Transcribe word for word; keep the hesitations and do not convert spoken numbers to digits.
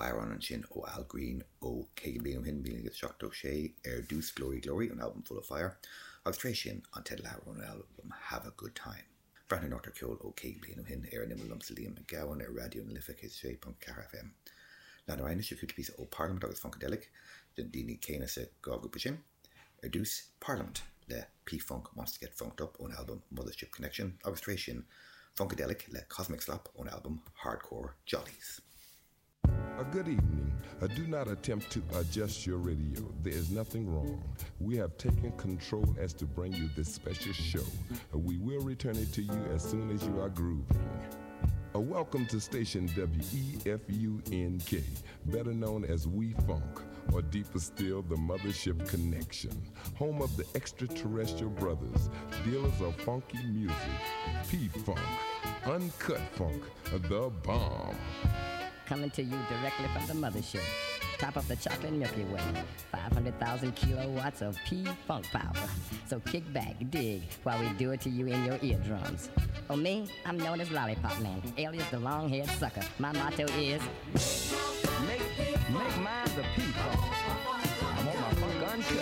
Amhrán ansin ó Al Green ó caoga bliain ó shin míle naoi gcéad seachtó sé ar dtús Glory Glory ón albam Full of Fire agus tar éis sin an teideal ón albam Have a Good Time. Breathnú anocht ar ceol ó caoga bliain ó shin ar an imeall liomsa Liam Mac Gabhann ar Raidió na Life céad sé ponc ceathair FM. Lean orainn anois cúpla píosa ó Parliament agus Funkadelic den daoine céanna sa dhá ghrúpa sin. Ar dtús Parliament le P-Funk Wants to Get Funked Up ón album Mothership Connection agus tar éis sin Funkadelic le Cosmic Slop ón album Hardcore Jollies. A good evening. Uh, do not attempt to adjust your radio. There is nothing wrong. We have taken control as to bring you this special show. Uh, we will return it to you as soon as you are grooving. Uh, welcome to station W E F U N K, better known as We Funk, or deeper still, the Mothership Connection, home of the extraterrestrial brothers, dealers of funky music, P Funk, uncut funk, the bomb. Coming to you directly from the mothership. Top of the chocolate Milky Way. five hundred thousand kilowatts of P-Funk power. So kick back, dig, while we do it to you in your eardrums. Oh, me? I'm known as Lollipop Man, alias the long-haired sucker. My motto is... Make, make mine.